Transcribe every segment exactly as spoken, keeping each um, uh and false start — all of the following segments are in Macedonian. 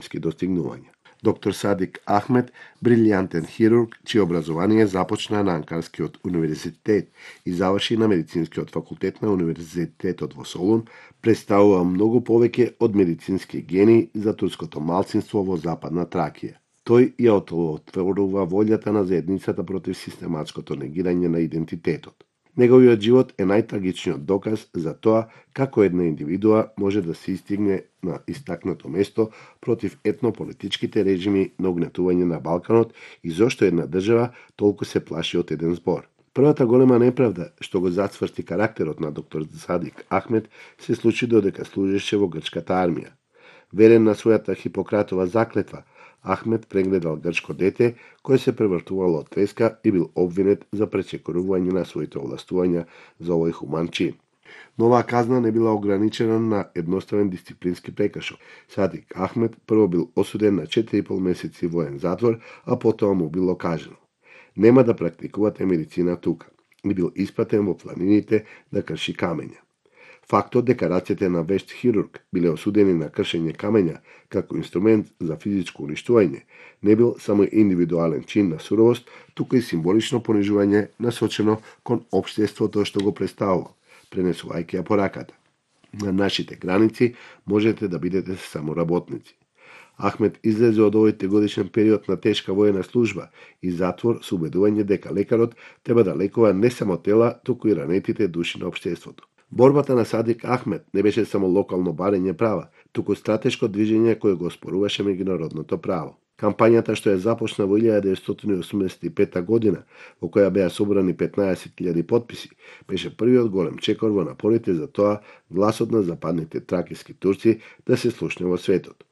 достигнувања. Доктор Садик Ахмед, брилјантен хирург, чие образование започна на Анкарскиот универзитет и заврши на медицинскиот факултет на универзитетот во Солун, представува многу повеќе од медицински гени за турското малцинство во Западна Тракија. Тој ја отворува волјата на заедницата против систематското негирање на идентитетот. Неговиот живот е најтрагичниот доказ за тоа како една индивидуа може да се истигне на истакнато место против етнополитичките режими на угнетување на Балканот и зошто една држава толку се плаши од еден збор. Првата голема неправда што го зацврсти карактерот на доктор Садик Ахмед се случи додека служеше во грчката армија. Верен на својата Хипократова заклетва, Ахмед прегледал грчко дете кој се превртувало од треска и бил обвинет за пречекорување на своите овластувања за овој хуман чин. Но оваа казна не била ограничена на едноставен дисциплински прекршок. Садик Ахмед прво бил осуден на четири и пол месеци воен затвор, а потоа му било кажано: нема да практикувате медицина тука, и бил испратен во планините да крши камења. Фактот дека рацете на вешт хирург биле осудени на кршење камења како инструмент за физичко уништување не бил само индивидуален чин на суровост, туку и символично понижување насочено кон општеството што го представува, пренесувајќи ја пораката: на нашите граници можете да бидете само работници. Ахмед излезе од овој тригодишен период на тешка воена служба и затвор со убедување дека лекарот треба да лекува не само тела, туку и ранетите души на општеството. Борбата на Садик Ахмед не беше само локално барење права, туку стратешко движење кое го споруваше меѓународното право. Кампањата што ја започна во илјада деветстотини и осумдесет и пета година, во која беа собрани петнаесет илјади потписи, беше првиот голем чекор во напорите за тоа гласот на западните тракиски турци да се слушне во светот.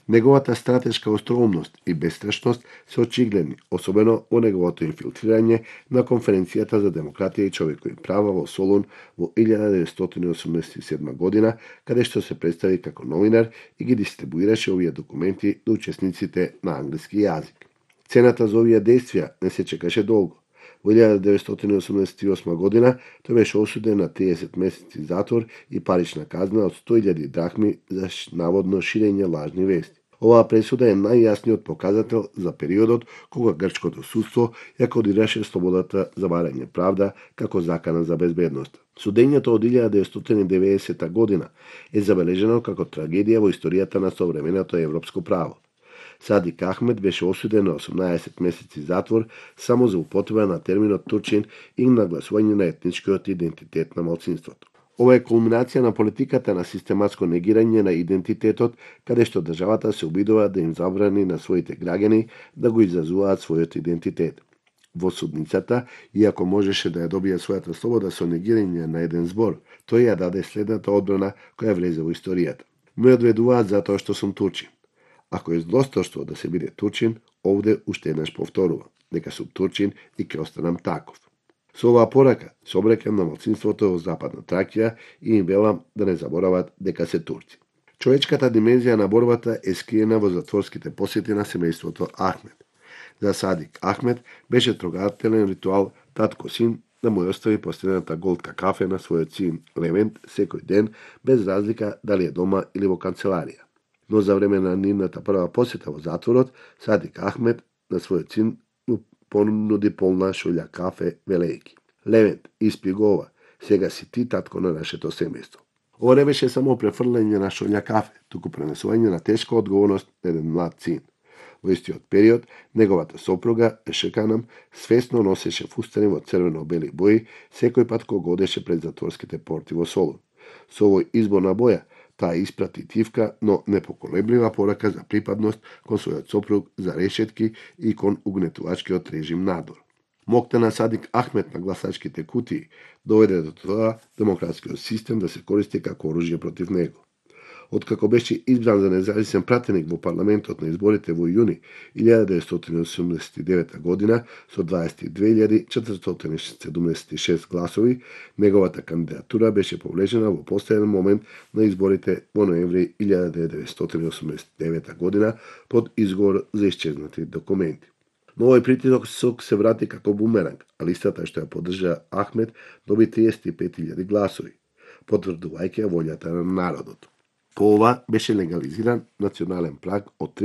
Неговата стратешка остроумност и бестрашност се очигледни, особено во неговото инфилтрирање на Конференцијата за демократија и човекови права во Солун во илјада деветстотини и осумдесет и седма година, каде што се представи како новинар и ги дистрибуираше овие документи до учесниците на англиски јазик. Цената за овие действија не се чекаше долго. Во илјада деветстотини и осумдесет и осма година тој беше осуден на триесет месеци затвор и парична казна од сто илјади драхми за наводно ширење лажни вести. Оваа пресуда е најјасниот показател за периодот кога грчкото судство ја кодираше слободата за барање правда како закана за безбедност. Судењето од илјада деветстотини и деветдесета година е забележено како трагедија во историјата на современото европско право. Садик Ахмед беше осуден на осумнаесет месеци затвор само за употреба на терминот турчин и нагласување на етничкиот идентитет на малцинството. Ова е кулминација на политиката на систематско негирање на идентитетот, каде што државата се обидува да им забрани на своите граѓани да го изразуваат својот идентитет. Во судницата, иако можеше да ја добие својата слобода со негирање на еден збор, тој ја даде следната одбрана која влезе во историјата: ме одведуваат затоа што сум турчин. Ако е злосторство да се биде турчин, овде уште еднаш повторува дека сум турчин и ќе останам таков. Со оваа порака се обрекам на малцинството во Западна Тракија и им велам да не заборават дека се турци. Човечката димензија на борбата е скриена во затворските посети на семејството Ахмед. За Садик Ахмед беше трогателен ритуал татко-син да му остави последната голтка кафе на својот син Левент секој ден, без разлика дали е дома или во канцеларија. Но за време на нивната прва посета во затворот, Садик Ахмед на својот син понуди полна шолја кафе, велејки: Левент, испи го ова, сега си ти татко на нашето семејство. Ова не беше само префрлање на шолја кафе, туку пренесување на тешка одговорност на еден млад син. Во истиот период, неговата сопруга, Ешеканам, свесно носеше фустани во црвено-бели бои секој пат кога одеше пред затворските порти во Солун. Со овој избор на боја, таа испрати тивка, но непоколеблива порака за припадност кон својот сопруг, за решетки и кон угнетувачкиот режим надвор. Моќта на Садик Ахмед на гласачките кутии доведе до тоа демократскиот систем да се користи како оружје против него. Откако беше избран за независен пратеник во парламентот на изборите во јуни илјада деветстотини и осумдесет и девета година со дваесет и две илјади четиристотини седумдесет и шест гласови, неговата кандидатура беше повлечена во последен момент на изборите во ноември илјада деветстотини и осумдесет и девета година под изговор за исчезнати документи. Но овој притисок се врати како бумеранг, а листата што ја поддржа Ахмед доби триесет и пет илјади гласови, потврдувајќи ја волјата на народот. По ова беше легализиран национален праг од